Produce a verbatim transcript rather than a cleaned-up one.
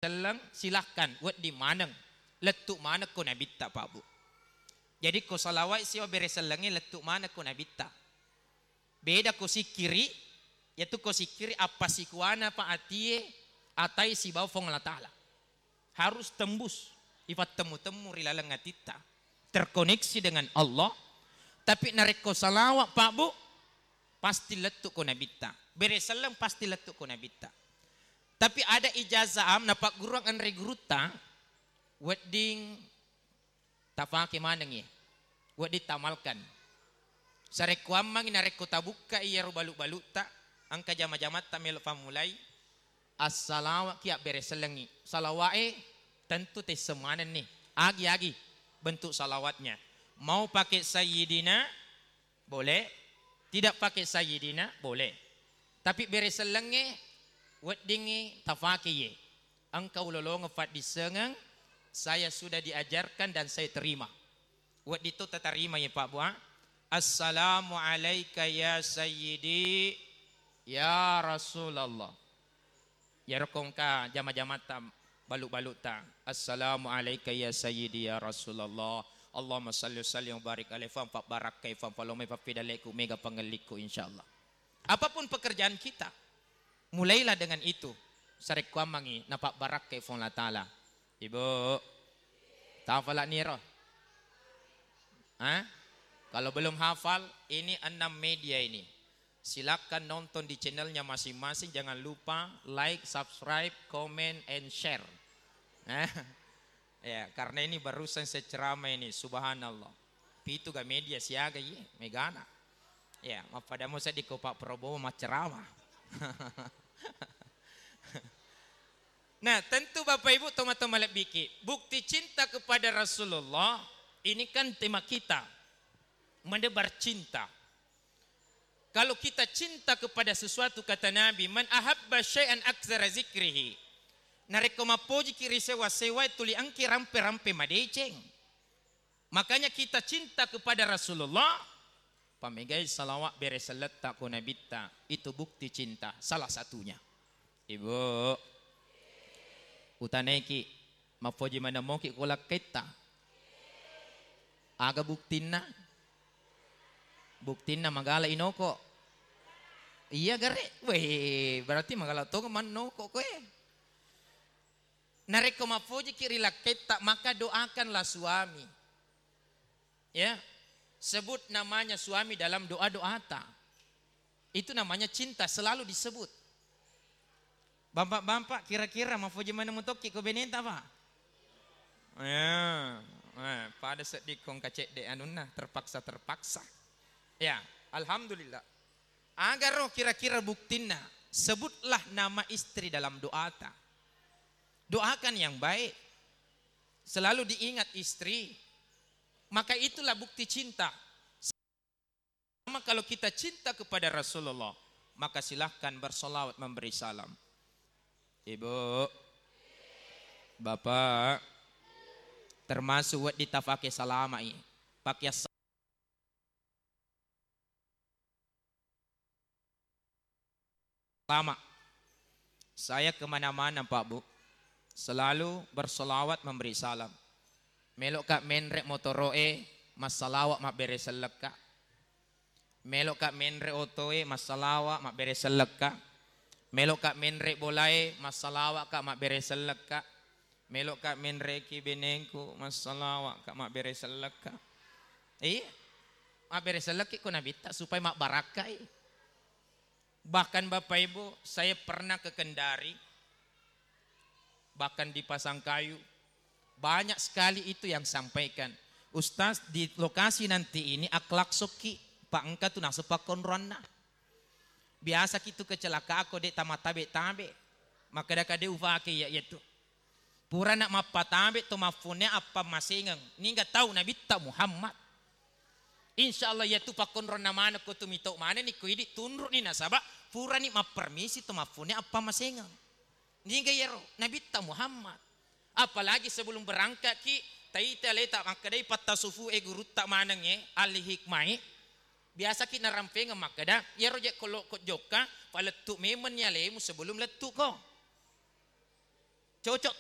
selleng, silahkan, wedding maneng. Lettu maneng ko nabitta, Pak Bu. Jadi ko salawat siwa bere sellengnge lettu maneng ko nabitta. Beda ko sikkiri, yatu ko sikkiri appasikuana pa atie, atai sibawa Puang Allah Ta'ala. Harus tembus, ifattemmu-temmu ri laleng atitta. Terkoneksi dengan Allah. Tapi narekko salawat, Pak Bu, pasti lettu ko nabitta. Bere selleng pasti lettu ko nabitta. Tapi ada ijazah am napagguruang anre gurutta, wedding tafake manengngi, wedding tamalkan. Sarekkuammangngi narekko tabukka iyaro balu-balutta, engka jama-jamatta melo fammulai, assalawatki abbere sellengngi. Salawa'e tentu tesseng manenni. Agi-agi bentuk salawatnya. Mau pakai sayyidina, boleh. Tidak pakai sayyidina, boleh. Tapi bere sellengnge weddingngi tafake ye. Engka ulolongeng faddissengeng, saya sudah diajarkan dan saya terima. Wedding to tatarima ye, Pak Bu, ah. Assalamu alaika ya sayyidi ya Rasulullah. Iyaro ko engka jama-jamatta balu-balutta. Assalamu alaika ya sayyidi ya Rasulullah. Allahumma salli wa sallim wa barik alaihi, fam, fabbarakkai, fam, falomai, fapidaleku, mega pangellikku, insyaallah. Apapun pekerjaan kita, mulailah dengan itu. Sarekkuammangngi napabbarakkai Puang Allah Ta'ala. Ibu, tafala niro? Hah? Kalau belum hafal, ini enam media ini. Silakan nonton di channelnya masing-masing. Jangan lupa like, subscribe, comment, and share. Eh, ya, karena ini barusan saya ceramah ini, subhanallah. Pitu ga media siaga ye, megana. Ya, mappadamo seddi ko Pak Prabowo macceramah. Nah, tentu Bapak Ibu, teman-teman lebbiki, bukti cinta kepada Rasulullah, ini kan tema kita, menebar cinta. Kalau kita cinta kepada sesuatu, kata Nabi, "Man ahabba syai'an aktsara zikrihi." Narekko mappojiki ri sewa-sewae, tuli engki rampe-rampe madeceng. Makanya kita cinta kepada Rasulullah, pamegai salawat bere selletta ko nabitta, itu bukti cinta salah satunya. Ibu, utanaiki, mappoji maneng moki ko lakkaitta? Aga buktinna? Buktinna magala inoko? Iya gare. Weh, berarti magala tong mannoko koe. Narekko mappojiki ri lakkaitta, maka doakanlah suami. Ya, sebut namanya suami dalam doa-doata. Itu namanya cinta, selalu disebut. Bampak-bampak, kira-kira mafoji maneng mutokki ko beneta, Pak? Ya, eh, pada seddi kong kacedde anunna, terpaksa-terpaksa. Ya, alhamdulillah. Agaro kira-kira buktinna, sebutlah nama istri dalam doata. Doakan yang baik. Selalu diingat istri. Maka itulah bukti cinta. Sama kalau kita cinta kepada Rasulullah, maka silahkan bersolawat memberi salam. Ibu, Bapak, termasuk wedding tafake salama'i. Pakai Lama. Saya kemana-mana, Pak Bu, selalu bersolawat memberi salam. Meloka menre motoro'e, massalawa mabbere sellekka. Meloka menre otoe, massalawa mabbere sellekka. Meloka menre bolae, massalawa ka mabbere sellekka. Meloka menreki benengku, massalawa ka mabbere sellekka. Iya, mabbere sellekki ko nabitta supaya mabbarakkai. Bahkan Bapak Ibu, saya pernah ke Kendari, bahkan di Pasangkayu, banyak sekali itu yang sampaikan, "Ustaz, di lokasi nanti ini akhlak sokki, Pak, engka tu naseng pakkonroanna. Biasa ki tu kecelakaan ko de' tamatabe-tabe, makkeda-kade ufake iya, iya tu." Purana mappatabe to maffonne appa masengeng. Niga tau Nabitta Muhammad. Insya Allah iyatu pakkonronna maneng ko tu mito manenni ko idi tunru'ni nasaba purani mappermisi to maffonne appa masengeng. Niga iyaro Nabitta Muhammad. Apalagi sebelum berangkat ki taita leta makkedai patta sufu e gurutta maneng e ahli hikmai. Biasa ki narampengeng makkeda iyaro je ko lokko jokka palettu memenni alemu sebelum lettu ko. Cocok